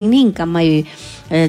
Ninka may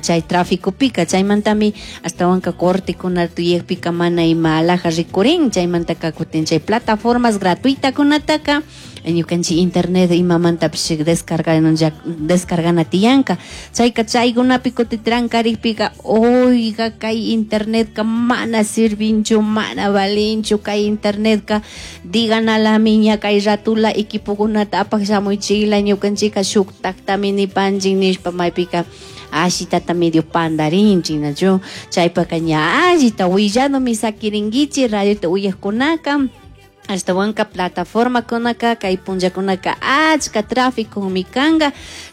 chay traficopika, chaymantami ashtawanka cortekuna tuyakpika mana ima alaja rikurin. Chaymantaka kutin chay plataformas gratuitakunataka ñukanchik internet imamantapish descargana tiyanka. Chayka chaykunapi kutin trankarikpika, oiga, kay internetka mana sirvinchu, mana valinchu kay internetka, diganalami ña kay ratula equipokunata apak shamuychikla, ñukanchika shuktaktami nipanchik nishpa maypika ashitata medio pandarinchik, nachu? Chaypaka ña allita willanomi sakirinkichik radiota uyakkunaka. Ashtawanka plataformakunaka kay punllakunaka achka tráficomi kanka,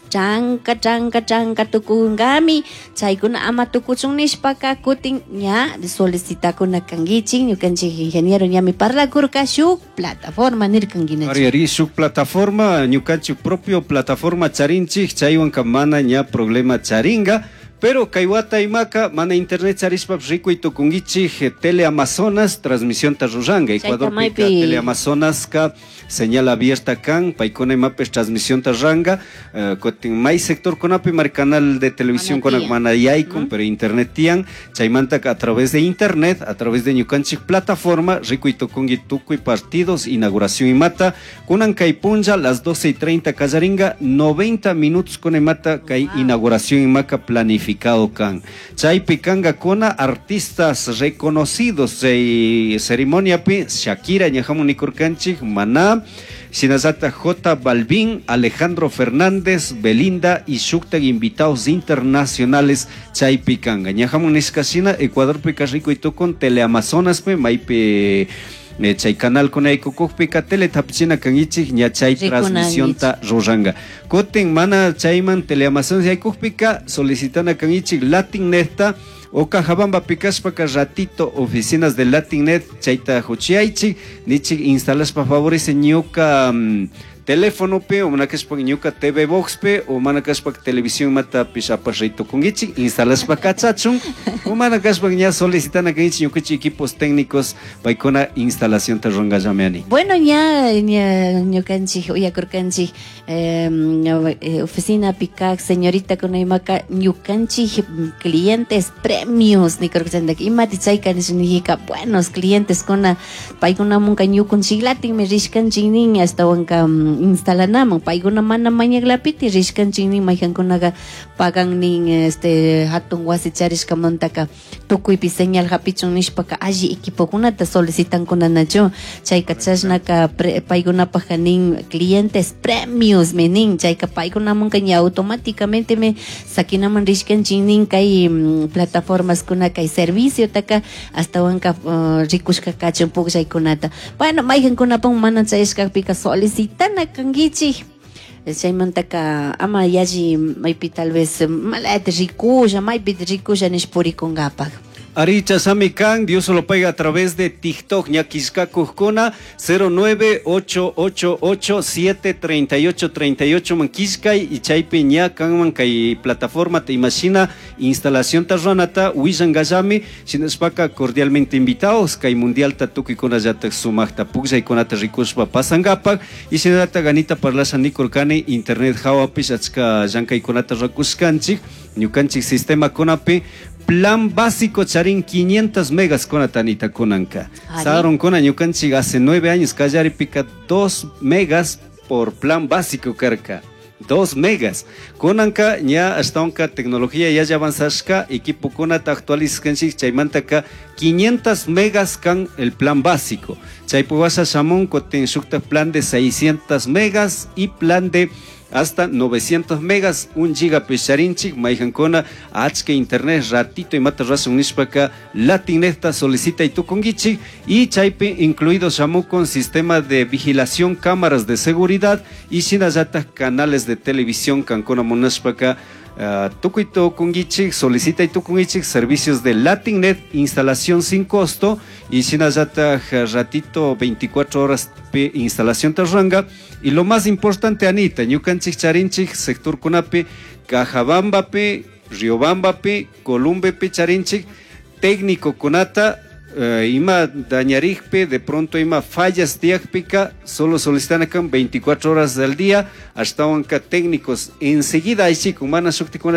chanka chanka chanka tukunkami. Chaykuna ama tukuchun nishpaka kutin ña solicitakuna kankichik. Ñukanchik ingeniero ñami parlakurka shuk plataforma nirkankinachu. Ari, ari, shuk plataforma, ñukanchik propio plataforma charinchik, chaywanka mana ña problema charinga. Pero kay wata imaka mana internet charishpa rikuy tukunkichik, Teleamazonas transmisión ta ruranga. Chayta Ecuadorpika maypi Teleamazonaska señal abierta kan, paykuna imapish transmisión ta ruranga. Kutin may sectorkunapi mar canal de televisión Mana kuna tiyan. mana yaykun, pero internet tiyan. Chaymantaka a través de internet, a través de ñukanchik plataforma, rikuy tukunki tukuy partidos, inauguración imata. Kunan kay punlla, las 12:30 kallaringa, 90 minutos kuna imata kay inauguración imaka planificado kan. Chaypi kanga kuna artistas reconocidos chay ceremoniapi, Shakira ñajamun nikurkanchik, Maná, shinallata J Balvin, Alejandro Fernández, Belinda y shuktak invitados internacionales chaypi kanga. Ñajamun nishka shina, Ecuadorpika rikuy tukun Teleamazonaspi, maypi chay canal kuna yaykukukpika teletapichina kankichik, ña chay Rikunankichik. transmisionta ruranga. Kutin mana chayman Teleamazonas yaykukpika solicitana kankichik Latinnetta o Cajabamba pikashpaka ratito oficinas de Latinnet chayta huchiyaychik, nichik instalashpa favorece ñuka, teléfono pe, o mana kashpa ñuka TV Box pe, o mana kashpa televisión mata pishapash ritukunkichik, instalashpa kachachun, o mana kashpa ña solicitana kankichik ñukanchik equipos técnicos paykuna instalación ta rurangallameani. Bueno, ña, ña ñukanchik uyakurkanchik, oficina pikak señorita kunaymaka ñukanchik clientes premios nikurkanchik, imati chayka nishka buenos clientes kuna paykunamunka ñukunchiklatinmi rishkanchik nin, ashtawanka, instalanaman paykuna mana mañaklapiti rishkanchik nin, maykankunaqa pagan nin, hatun wasi charishkamantaka tukuypi señal hapichun nishpaka alli equipokunata solicitankunanachu. Chayka chashnaka paykunapajka nin clientes premios me nin, chayka paykunamunka ña automáticamente me sakinaman rishkanchik nin kay, plataformas kuna kay serviciotaka ashtawanka, rikushka kachun pukllaykunata. Bueno, maykankunapun mana chayashkakpika solicitana kankichik. Chaymantaka ama yalli maypi tal vez malata rikusha, maypi rikusha nish purikunkapak. Aricha Sami Kan, Dios lo paga a través de TikTok, ñakishkakukkuna, cero nueve ocho ocho ocho siete treinta y ocho treinta y ocho, mankishkay, y chaypi ñakanman kay plataforma te imagina, instalación tarranata, willangallami, shinashpaka cordialmente invitados, kay mundial tatukikuna yatak sumaqta pukllaykunata rikushpa pasangapak, y shinallata ganita parlasha nikurkani, internet hawapish achka llankaykunata rakushkanchik, ñukanchik sistema kunapi, plan básico charin 500 megas con atanita kunanka. Ari. Saron kuna ñukanchik hace 9 años kallari pica 2 megas por plan básico karka. 2 megas. Kunanka ña ashtawanka tecnología ya avanzashka, equipo kunata actualizkanchik chaymantaka 500 megas kan el plan básico. Chaypuwasha shamun kotin shukta plan de 600 megas y plan de hasta 900 megas, 1 giga picharinchik, mayhankuna, achka internet, ratito y mata razón nishpaka, Latinnetta solicita y tukungichik, y chaypi incluido shamu con sistema de vigilación, cámaras de seguridad y shinallata canales de televisión, kankuna munashpaka, tukuy tukungichik, solicita y tukungichik, servicios de Latinnet, instalación sin costo, y shinallata ratito 24 horas pe instalación tarranga. Y lo más importante, Anita, ñukanchik charinchik, sector kunapi, Cajabambapi, Riobambapi, Columbepi charinchik, técnico kunata, Ima dañarikpi, de pronto ima fallas tiyakpika, solo solicitan 24 horas del día, ashtawanka técnicos enseguida aychikun, mana shuktikuna.